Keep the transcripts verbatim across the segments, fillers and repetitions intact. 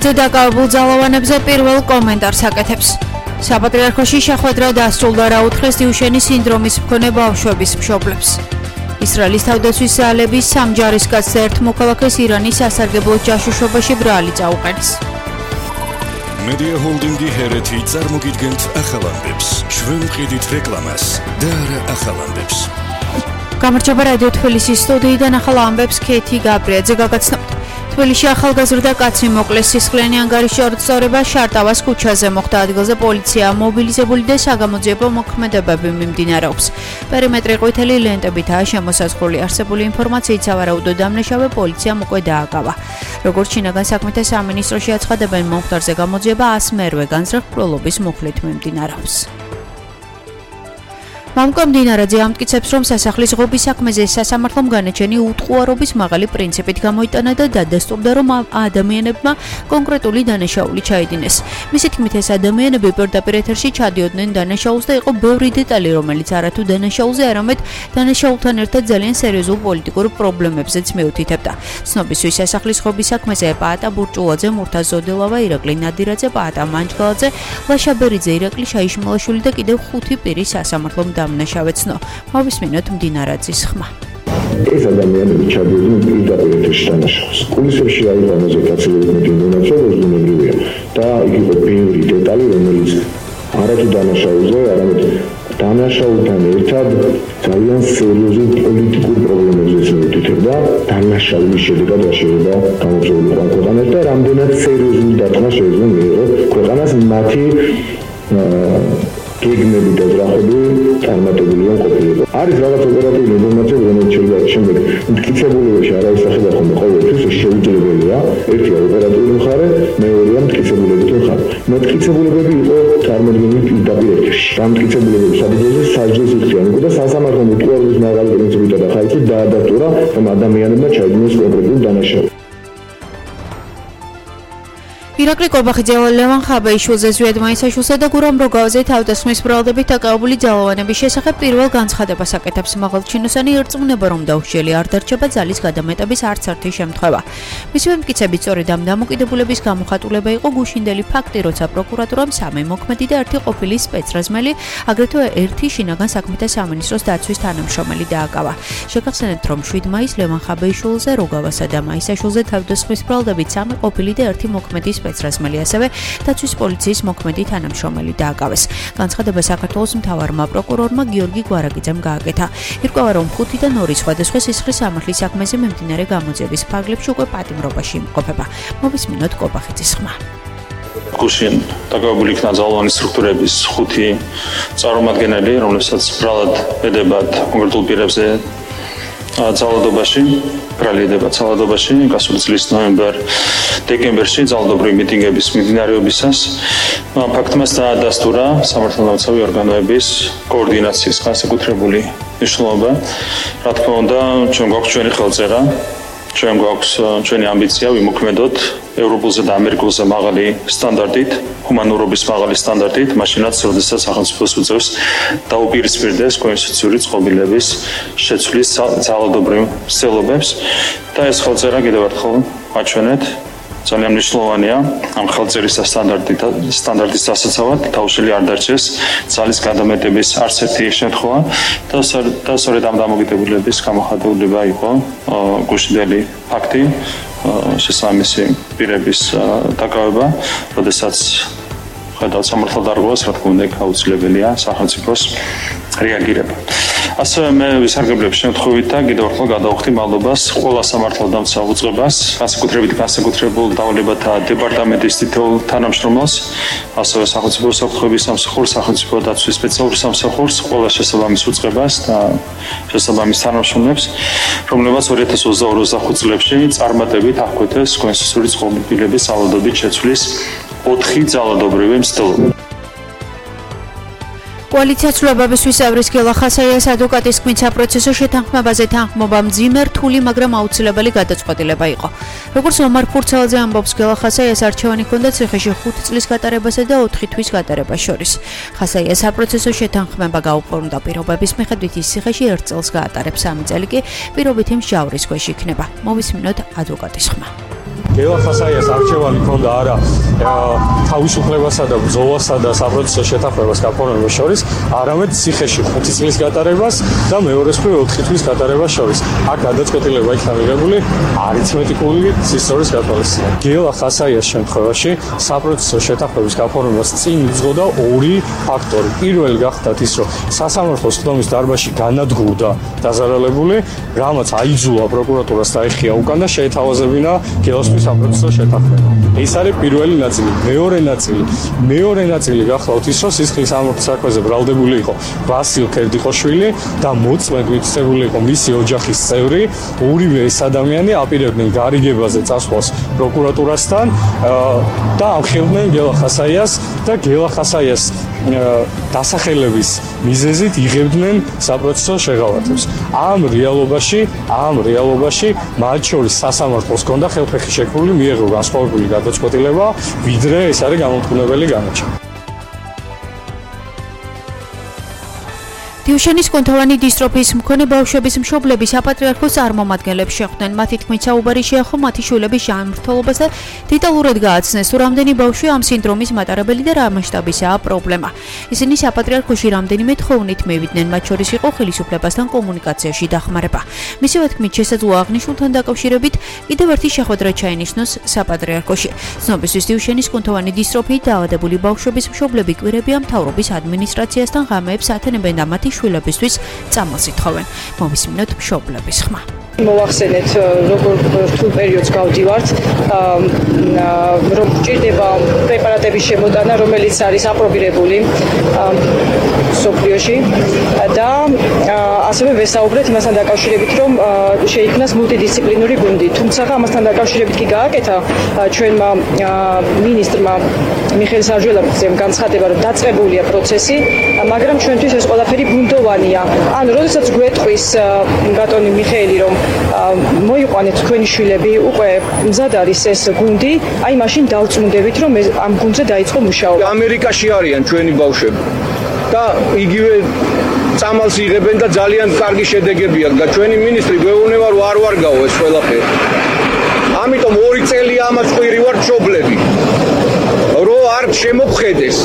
დაკავებულ ძალოვანებზე პირველ კომენტარს აკეთებს. საპატრიარქოში შეხვედრა დასრულდა, რა უთხრეს დიუშენის სინდრომის მქონე ბავშვების მშობლებს. ისრაელის თავდაცვის ძალების სამ ჯარისკაცს და ერთ მოქალაქეს ირანის სასარგებლო ჯაშუშობაში ბრალი წაუყენეს. Media Holdingi ჰერეთი წარმოგიდგენთ ახალ ამბებს. ჩვენ ვყიდით რეკლამას და არა ახალ ამბებს. გამარჯობა რადიო თბილისის სტუდიიდან ახალ ამბებს ქეთი გაბრიაძე გაგაცნობთ. თბილისში ახალგაზრდა კაცი მოკლეს სისხლიანი ანგარიშის სწორება შარტავას ქუჩაზე მოხდა. ადგილზე პოლიცია მობილიზებული და საგამოძიებო მოქმედებები მიმდინარეობს. პერიმეტრი ყვითელი ლენტებითაა შემოსაზღვრული. არსებული ინფორმაციით სავარაუდო დამნაშავე პოლიციამ უკვე დააკავა. როგორც შინაგან საქმეთა სამინისტროში აცხადებენ, მომხდარზე გამოძიება ას მერვე განზრახულობის მუხლით მიმდინარეობს. მამკო მდინარაძე ამტკიცებს, რომ სასახლის ღობის საქმეზე სასამართლომ განაჩენი უტყუარობის მაღალი პრინციპით გამოიტანა და დადასტურდა, რომ ადამიანებმა კონკრეტული დანაშაული ჩაიდინეს. მისი თქმით, ეს ადამიანები პირდაპირ ეთერში ჩადიოდნენ დანაშაულს და იყო ბევრი დეტალი, რომელიც არათუ დანაშაულზე, არამედ დანაშაულთან ერთად ძალიან სერიოზულ პოლიტიკურ პრობლემებზეც მიუთითებდა. ცნობისთვის სასახლის ღობის საქმეზე პაატა ბურჭულაძე, მურთაზ ზოდილავა, ირაკლი ნადირაძე, პაატა მანჯგალაძე, ლაშა ბერიძე, ირაკლი შაიშმალაშვილი და კიდევ ხუთი პირი სასამართლომ დამნაშავეცნო. მოვისმინოთ მდინარაძის ხმა. ეს ადამიანები ჩადიოდნენ პირდაპირ ეთერში დანაშაულს. კულისებში არის ამაზე გაცილებით ინფორმაცია, როზუნებრივია და იქ იყო ბევრი დეტალი, რომელიც არათუ დანაშაულზე, არამედ დანაშაულთან ერთად ძალიან სერიოზულ პოლიტიკურ პრობლემებზეც მიუთითებდა. დანაშაულის შედეგად რა შეიძლება გამოგზავნილიყო ქვეყანას და რამდენად სერიოზული დარტყმა შეიძლება მიიღო ქვეყანას მათი გეგმები და ძრახები წარმატებული რომ ყოფილიყო. არის რაღაც ოპერატიული ინფორმაცია, რომელიც შეიძლება შემდეგ მტკიცებულებაში არ აისახება ხოლმე ყოველთვის, ეს შეუძლებელია. ერთია ოპერატიული მხარე, მეორეა მტკიცებულებითი მხარე. მტკიცებულებები იყო წარმოდგენილი პირდაპირ ეთერში. დამტკიცებულებების საფუძველზე სასჯელს იხდიან უკვე და სასამართლომ უტყუარობის მაღალი პრინციპით და ხალხით დაადასტურა, რომ ადამიანებმა ჩაიდინეს კონკრეტული დანაშაული. ირაკლი კობახიძე, ლევან ხაბეიშვილზე, ზვიად მაისაშვილსა და გურამ როგავაზე თავდასხმის ბრალდებით დაკავებული ძალოვანების შესახებ პირველ განცხადებას აკეთებს. მაღალჩინოსანი ერწმუნება, რომ დაუშლილი არ დარჩება ძალის გადამეტების არც ერთი შემთხვევა. მისივე მტკიცებით, სწორედ ამ დამოკიდებულების გამოხატულება იყო გუშინდელი ფაქტი, როცა პროკურატურამ სამი მოქმედი და ერთი ყოფილი სპეცრაზმელი, აგრეთვე ერთი შინაგან საქმეთა სამინისტროს დაცვის თანამშრომელი დააკავა. შეგახსენებთ, რომ შვიდ მაისს ლევან ხაბეიშვილზე, როგავასა და მაისაშვილზე თავდასხმის ბრალდებით სამი ყოფილი და ერთი მოქმედი სპეცრაზმელი, ასევე დაცვის პოლიციის მოქმედი თანამშრომელი დააკავეს. განცხადება საქართველოს მთავარმა პროკურორმა გიორგი გვარაგიძემ გააკეთა. ირკვევა, რომ ხუთიდან ორი სხვადასხვა სისხლის სამართლის საქმეზე მიმდინარე გამოძიების ფარგლებში უკვე პატიმრობაში იმყოფება. მოვისმინოთ კობახიძის ხმა. გუშინ დაკავებული იქნა ძალოვანი სტრუქტურების ხუთი წარმომადგენელი, რომლებსაც ბრალად ედებათ კონკრეტულ პირებზე ძალადობაში, ბრალი ედებათ ძალადობაში, გასული წლის ნოემბერ-დეკემბერში ძალადობრივი მიტინგების მიმდინარეობისას ფაქტმას დაადასტურა სამართალდამცავი ორგანოების კოორდინაციის განსაკუთრებული მნიშვნელობა. რა თქმა უნდა, ჩვენ გვაქვს ჩვენი ხელწერა, ჩვენ გვაქვს ჩვენი ამბიცია ვიმოქმედოთ ევროპულზე და ამერიკულზე მაღალი სტანდარტით, ჰუმანურობის მაღალი სტანდარტით, მაშინაც, როდესაც სახელმწიფოს უწევს დაუპირისპირდეს კონსტიტუციური წყობილების შეცვლის ძალადობრივ მსვლელობებს და ეს ხელწერა კიდევ ერთხელ აჩვენეთ. ძალიან მნიშვნელოვანია ამ ხელწერის და სტანდარტის დასაცავად დაუშლილი არ დარჩეს ძალის გადამეტების არც ერთი შემთხვევა და სწორედ ამ დამოკიდებულების გამოხატულება იყო გუშინდელი ფაქტი, შესაბამისი პირების დაკავება, როდესაც ხედავთ სამართალდარღვევას, რა თქმა უნდა, აუცილებელია სახელმწიფოს რეაგირება. ასევე მე ვისარგებლებ შემთხვევით და კიდევ ერთხელ გადავხდი მადლობას ყველა სამართალდამცავ უწყებას, განსაკუთრებით განსაკუთრებულ დავლებათა დეპარტამენტის თითოეულ თანამშრომელს, ასევე სახელმწიფო უსაფრთხოების სამსახურს, სახელმწიფო დაცვის სპეციალურ სამსახურს, ყველა შესაბამის უწყებას და შესაბამის თანამშრომლებს, რომლებმაც ორი ათას ოცდაორი ოცდახუთ წლებში წარმატებით აღკვეთეს კონსტიტუციური წყობილების ძალადობით შეცვლის ოთხი ძალადობრივი მცდელობა. კოალიცია ცვლილებებისთვის ევრის გელა ხასაიას ადვოკატის თქმით, საპროცესო შეთანხმებაზე თანხმობა მძიმე, რთული, მაგრამ აუცილებელი გადაწყვეტილება იყო. როგორც ომარ ფურცელაძე ამბობს, გელა ხასაიას არჩევანი ჰქონდა ციხეში ხუთი წლის გატარებასა და ოთხი თვის გატარებას შორის. ხასაიას საპროცესო შეთანხმება გაუფორმდა პირობების მიხედვით, ის ციხეში ერთ წელს გაატარებს, სამი წელი კი პირობითი მსჯავრის ქვეშ იქნება. მოვისმინოთ ადვოკატის ხმა. გელა ხასაიას არჩევანი ჰქონდა არა თავისუფლებასა და ბრძოლასა და საპროტესტო შეთანხმებას გაფორმებას შორის, არამედ ციხეში ხუთი წლის გატარებას და მეორეს მხრივ ოთხი წლის გატარებას შორის. აქ გადაწყვეტილება იქნა მიღებული არითმეტიკული სისტემის გათვალისწინებით. გელა ხასაიას შემთხვევაში საპროტესტო შეთანხმების გაფორმებას წინ იძღოდა ორი ფაქტორი. პირველი გახდათ ის, რომ სასამართლოს ხდომის დარბაზში განადგურდა დაზარალებული, რამაც აიძულა პროკურატურას დაეხია უკან და შეეთავაზებინა გელოსთვის საპროტესტო შეთანხმება. ეს არის პირველი ნაწილი. მეორე ნაწილი, მეორე ნაწილი გახლავთ ის, რომ სისხლის სამართლის საქმეზე ბრალდებული იყო ვასილ ქერდიხოშვილი და მოწმედ მითითებული იყო მისი ოჯახის წევრი. ორივე ეს ადამიანი აპირებდნენ გარიგებაზე წასვლას პროკურატურასთან და ამხელდნენ გელა ხასაიას და გელა ხასაიას დასახელების მიზეზით იღებდნენ საპროცესო შეღავათებს. ამ რეალობაში, ამ რეალობაში მათ შორის სასამართლოს ჰქონდა ხელფეხი შექმნილი მიეღო განსხვავებული გადაწყვეტილება, ვიდრე ეს არის გამოთქმულებელი განაჩენი. დიუშენის კუნთოვანი დისტროფიის მქონე ბავშვების მშობლები საპატრიარქოს წარმომადგენლებს შეხვდნენ. მათი თქმით, საუბარი შეეხო მათი შვილების ჯანმრთელობას და დეტალურად გააცნეს, თუ რამდენი ბავშვი ამ სინდრომის მატარებელი და რა მასშტაბისაა პრობლემა. ისინი საპატრიარქოში რამდენიმე თხოვნით მივიდნენ, მათ შორის იყო ხელისუფლებასთან კომუნიკაციაში დახმარება. მისივე თქმით, შესაძლოა აღნიშნულთან დაკავშირებით კიდევ ერთი შეხვედრა ჩაინიშნოს საპატრიარქოში. ცნობისთვის დიუშენის კუნთოვანი დისტროფიით დაავადებული ბავშვების მშობლები კვირებია მთავრობის ადმინისტრაციასთან ღამეებს ათენებენ და მათი შვილებისთვის წამალს ითხოვენ. მოვისმინოთ მშობლების ხმა. მოვახსენეთ, როგორ რთულ პერიოდს გავდივართ, რომ ჭირდება პრეპარატების შემოტანა, რომელიც არის აპრობირებული სოფლიოში და ასევე ვესაუბრეთ იმასთან დაკავშირებით, რომ შეიქმნას მულტიდისციპლინური გუნდი. თუმცა ამასთან დაკავშირებით კი გააკეთა ჩვენმა მინისტრმა მიხეილ საჯველაძემ განცხადება, რომ დაწყებულია პროცესი, მაგრამ ჩვენთვის ეს ყველაფერი ბუნდოვანია. ან როდესაც გვეტყვის ბატონი მიხეილი, რომ მოიყვანეთ თქვენი შვილები, უკვე მზად არის ეს გუნდი, აი მაშინ დავწმუნდებით, რომ ამ გუნდზე დაიწყო მუშაობა. ამერიკაში არიან ჩვენი ბავშვები და იგივე წამალს იღებენ და ძალიან კარგი შედეგები აქვს და ჩვენი მინისტრი გვეუბნება, რომ არ ვარგაო ეს ყველაფერი. ამიტომ ორი წელი ამას ყვირივარ მშობლები, რომ არ შემოგხედეს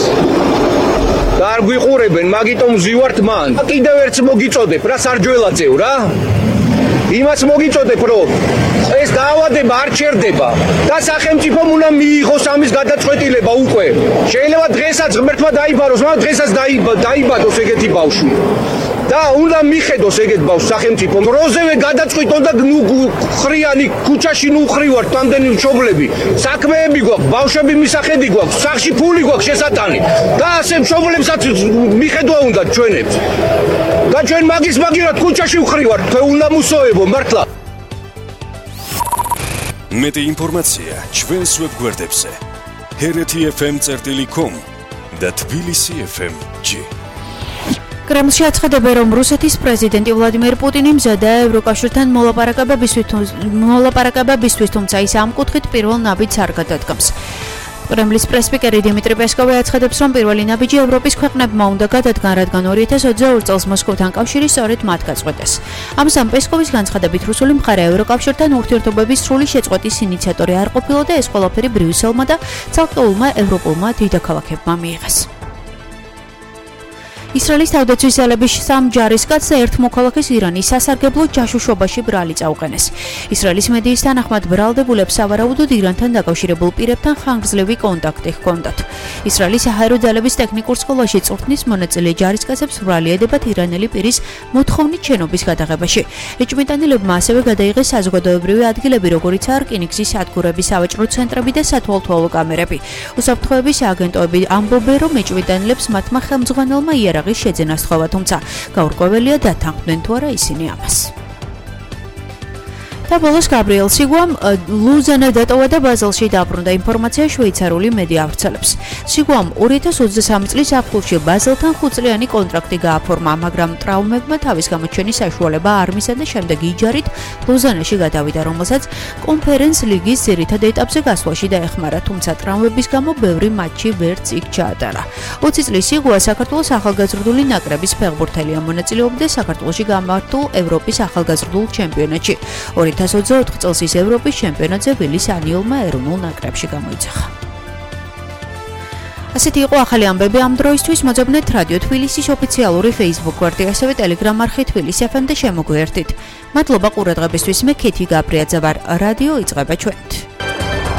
და არ გვიყურებენ, მაგიტომ ვზივართ მან. კიდევ ერთს მოგიწოდებ, რა სარჯველაძეო რა? იმას მოგიწოდებ, რომ ეს დაავადება არ ჩერდება და სახელმწიფომ უნდა მიიღოს ამის გადაწყვეტილება უკვე. შეიძლება დღესაც ღმერთმა დაიბაროს, მაგრამ დღესაც დაიბადოს ეგეთი ბავშვი. და უნდა მიხედოს ეგეთ ბავშვს სახელმწიფომ. როზევე გადაწყვიტონ და ნუ ხრიანი ქუჩაში ნუ ხვრივართ თამდენი მშობლები. საქმეები გვაქვს, ბავშვები მისახედი გვაქვს, სახში ფული გვაქვს შესატანი. და ასე მშობლებსაც მიხედვა უნდა ჩვენებს. და ჩვენ მაგის მაგივრად ქუჩაში ვხვრივართ, თქვენ უნდა მუსოებო მართლა. მეტი ინფორმაცია ჩვენს ვებგვერდებზე ჰერეთი ეფ ემ წერტილი კომ და თბილისი ეფ ემ ჯი. კრემლში აცხადებენ, რომ რუსეთის პრეზიდენტი ვლადიმერ პუტინი მზადაა ევროკავშირთან მოლაპარაკებებისთვის, თუმცა ის ამ კუთხით პირველ ნაბიჯს არ გადადგამს. კრემლის პრესპიკერი დიმიტრი პესკოვი აცხადებს, რომ პირველი ნაბიჯი ევროპის ქვეყნებმა უნდა გადადგან, რადგან ორი ათას ოცდაორი წელს მოსკოვთან კავშირი სწორედ მათ გაწყვეტეს. ამასთან პესკოვის განცხადებით, რუსული მხარე ევროკავშირთან ურთიერთობების სრული შეწყვეტის ინიციატორი არ ყოფილა და ეს ყველაფერი ბრიუსელმა და ცალკეულმა ევროპულმა დედაქალაქებმა მიიღეს. ისრაელის თავდაცვის ძალების სამ ჯარისკაცს და ერთ მოქალაქეს ირანის სასარგებლო ჯაშუშობაში ბრალი წაუყენეს. ისრაელის მედიის თანახმად ბრალდებულებს სავარაუდოდ ირანთან დაკავშირებულ პირებთან ხანგრძლივი კონტაქტი ჰქონდათ. ისრაელის საჰაერო ძალების ტექნიკურ სკოლაში წვრთნის მონაწილე ჯარისკაცებს ბრალი ედებათ ირანელი პირის მოთხოვნით შენობის გადაღებაში. ეჭვმიტანილებმა ასევე გადაიღეს საზოგადოებრივი ადგილები, როგორიცაა რკინიგზის სადგურების სავაჭრო ცენტრები და სათვალთვალო კამერები. უსაფრთხოების აგენტოები ამბობენ, რომ ეჭვმიტანილებს მათმა ხელმძღვანელმა იარაღი შეძენა სთხოვა, თუმცა გაურკვეველია დათანხმდნენ თუ არა ისინი ამას. და ბოლოს გაბრიელ სიგუამ ლუზანა დატოვა და ბაზელში დაბრუნდა, ინფორმაცია შვეიცარიული მედია ავრცელებს. სიგუამ ორი ათას ოცდასამი წლის აპრილში ბაზელთან ხუთწლიანი კონტრაქტი გააფორმა, მაგრამ ტრავმებმა თავის გამოჩენის საშუალება არ მისცა და შემდეგ იჯარით ლუზანაში გადავიდა, რომელსაც კონფერენს ლიგის ძირითად ეტაპზე გასვლაში დაეხმარა, თუმცა ტრავმების გამო ბევრი მატჩი ვერც იქ ჩაატარა. ოცი წლის სიგუა საქართველოს ახალგაზრდული ნაკრების ფეხბურთელია, მონაწილეობდა საქართველოში გამართულ ევროპის ახალგაზრდულ ჩემპიონატში. ორი ოთხ ათას ოცდაოთხ წელს ის ევროპის ჩემპიონატზე ვილის ანიულმა ეროვნულ ნაკრებში გამოიძახა. ასეთი იყო ახალი ამბები ამ დროისთვის. მოძებნეთ რადიო თბილისის ოფიციალური Facebook გვერდი, ასევე Telegram არხი თბილისი ეფ ემ და შემოგვიერთით. მადლობა ყურადღებისთვის. მე ქეთი გაბრიაძე ვარ. რადიო იწყება ჩვენით.